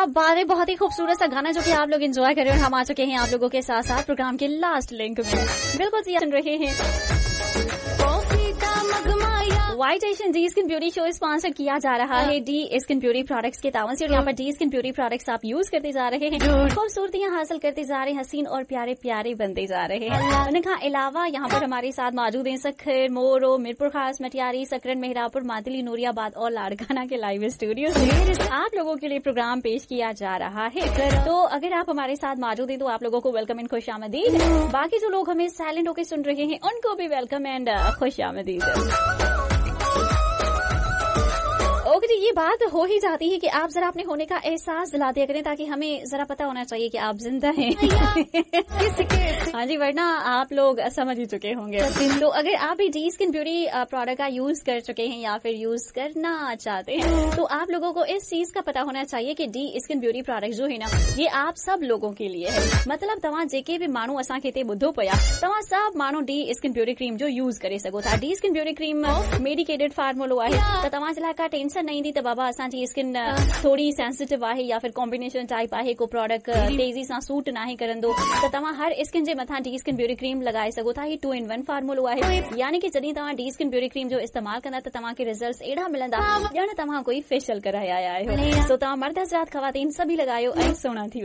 बात है, बहुत ही खूबसूरत सा गाना जो कि आप लोग एंजॉय कर रहे हैं और हम आ चुके हैं आप लोगों के साथ साथ प्रोग्राम के लास्ट लिंक में। बिल्कुल जी, सुन रहे हैं कॉफी का मगमाया। White Asian D skin beauty show sponsor किया जा रहा है डी स्किन ब्यूटी प्रोडक्ट्स के तावन से और यहाँ पर डी स्किन ब्यूटी प्रोडक्ट्स आप यूज करते जा रहे हैं, खूबसूरतियां हासिल करते जा रहे हैं, हसीन और प्यारे प्यारे बनते जा रहे हैं। उन खां अलावा यहाँ पर हमारे साथ मौजूद हैं सखर, मोरो, मीरपुर खास, मटियारी, सकरन, मेहरापुर, मातली, नूरियाबाद और लाड़काना के लाइव स्टूडियो से आप लोगों के लिए प्रोग्राम पेश किया जा रहा है। तो अगर आप हमारे साथ मौजूद हैं तो आप लोगों को welcome and खुश आमदीद। बाकी जो लोग हमें साइलेंट होकर सुन रहे हैं उनको भी welcome and खुश आमदीद। ओके जी, ये बात हो ही जाती है कि आप जरा अपने होने का एहसास दिला दिया करें ताकि हमें जरा पता होना चाहिए कि आप जिंदा हैं। हाँ जी, वरना आप लोग समझ ही चुके होंगे। तो अगर आप भी डी स्किन ब्यूटी प्रोडक्ट का यूज कर चुके हैं या फिर यूज करना चाहते हैं तो आप लोगों को इस चीज का पता होना चाहिए कि डी स्किन ब्यूटी प्रोडक्ट जो है ना, ये आप सब लोगों के लिए है। मतलब तव्हां जेके बि माण्हू असांखे हिते ॿुधो पिया, तव्हां सभु माण्हू डी स्किन ब्यूटी क्रीम जो यूज करे सघो था। D skin beauty cream medicated फार्मूलो आहे त तव्हां जे लाइ का टेंशन न ईंदी त बाबा असांजी स्किन थोरी सेंसिटिव आहे या फिर कॉम्बिनेशन टाइप आहे, को प्रोडक्ट तेज़ी सां सूट नाहे करंदो, त तव्हां हर स्किन जे मथां डी स्किन ब्यूटी क्रीम लॻाए सघो था। ही 2 in 1 फार्मूलो आहे, यानी कि जॾहिं तव्हां डी स्किन ब्यूटी क्रीम जो इस्तेमाल कंदा त तव्हांखे रिजल्ट्स अहिड़ा मिलंदा ॼण तव्हां कोई फेशियल कराए आया आहियो। सो तव्हां मर्द हज़रात ख़वातीन सभई लॻायो ऐं सुहिणा थी वञो।